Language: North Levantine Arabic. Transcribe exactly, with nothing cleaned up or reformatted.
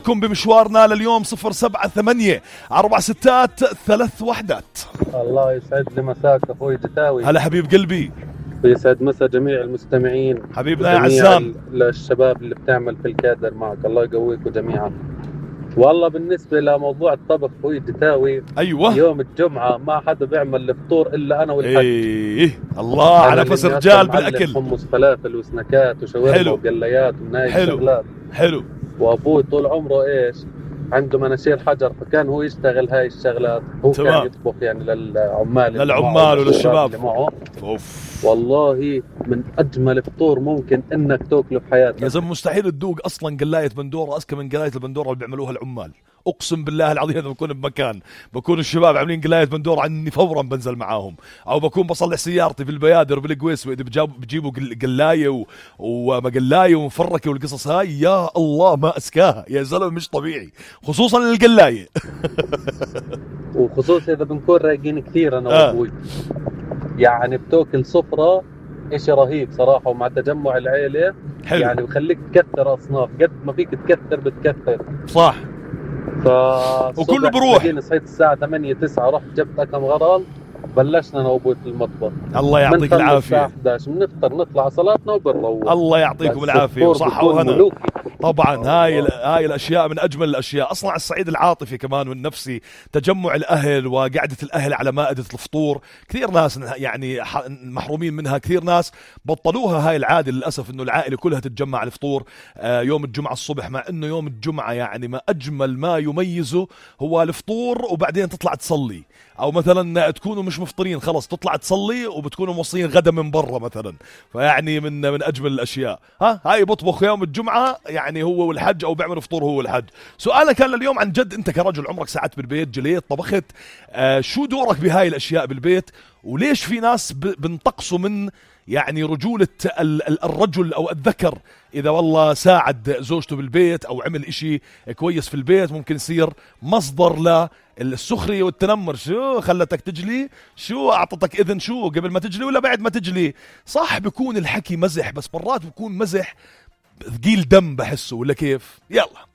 كن بمشوارنا لليوم صفر سبعة ثمانية أربع ستات ثلاث وحدات. الله يسعد لي مساك أخوي جتاوي. هلا حبيب قلبي. ويسعد مسا جميع المستمعين حبيبنا يا عزام. للشباب اللي بتعمل في الكادر معك، الله يقويكم جميعا. والله بالنسبة لموضوع الطبخ أخوي جتاوي، أيوة يوم الجمعة ما حدا بيعمل الفطور إلا أنا والحج. إيه الله على نفس رجال بالأكل. حمص فلافل وسناكات وشاورما وقليات ومن هاي الشغلات. حلو. وأبوي طول عمره إيش عنده مناشير حجر، فكان هو يشتغل هاي الشغلات. هو تمام. كان يطبخ يعني للعمال للعمال وللشباب. أوف. والله من أجمل فطور ممكن إنك تأكله في حياتك. يا زلمة مستحيل تذوق أصلا قلاية بندورة أذكى من قلاية البندورة اللي بيعملوها العمال. أقسم بالله العظيم إذا بكون بمكان بكون الشباب عاملين قلاية بندورة عني فورا بنزل معاهم، أو بكون بصلح سيارتي في البيادر بالقويس وإذا بجيبوا قلاية ومقلاية ومفركة والقصص هاي، يا الله ما أسكاها يا زلمة، مش طبيعي خصوصا للقلاية. وخصوصا إذا بنكون رايقين كثير أنا وأبوي آه. يعني بتوكل صفرة إشي رهيب صراحة، ومع تجمع العيلة حلو. يعني بخليك تكثر أصناف، قد ما فيك تكثر بتكثر صح. وكله بروح. صحيت الساعة ثمانية تسعة رحت جبت أكم غرال، بلشنا أنا وأبوي في المطبخ. الله يعطيك العافية. الساعة إحدى عشر بنفطر نطلع صلاتنا وبنروح. الله يعطيكم العافية وصحة وهنا. طبعا هاي هاي الأشياء من أجمل الأشياء أصلا على الصعيد العاطفي كمان والنفسي، تجمع الأهل وقعدة الأهل على مائدة الفطور. كثير ناس يعني محرومين منها، كثير ناس بطلوها هاي العادة للأسف، إنه العائلة كلها تتجمع على الفطور يوم الجمعة الصبح، مع إنه يوم الجمعة يعني ما أجمل ما يميزه هو الفطور وبعدين تطلع تصلي، أو مثلا تكونوا مش مفطرين خلص تطلع تصلي وبتكونوا موصلين غدا من برا مثلا، فيعني من من أجمل الأشياء. ها هاي بطبخ يوم الجمعة يعني هو والحج، أو بيعمل فطور هو والحج. سؤالك كان لليوم عن جد، أنت كرجل عمرك ساعات بالبيت، جليت طبخت، آه شو دورك بهاي الأشياء بالبيت؟ وليش في ناس بنتقصوا من يعني رجولة الرجل أو الذكر إذا والله ساعد زوجته بالبيت أو عمل إشي كويس في البيت، ممكن يصير مصدر للسخرية والتنمر. شو خلتك تجلي؟ شو أعطتك إذن شو قبل ما تجلي ولا بعد ما تجلي؟ صح بيكون الحكي مزح، بس مرات بيكون مزح ثقيل دم بحسه، ولا كيف؟ يلا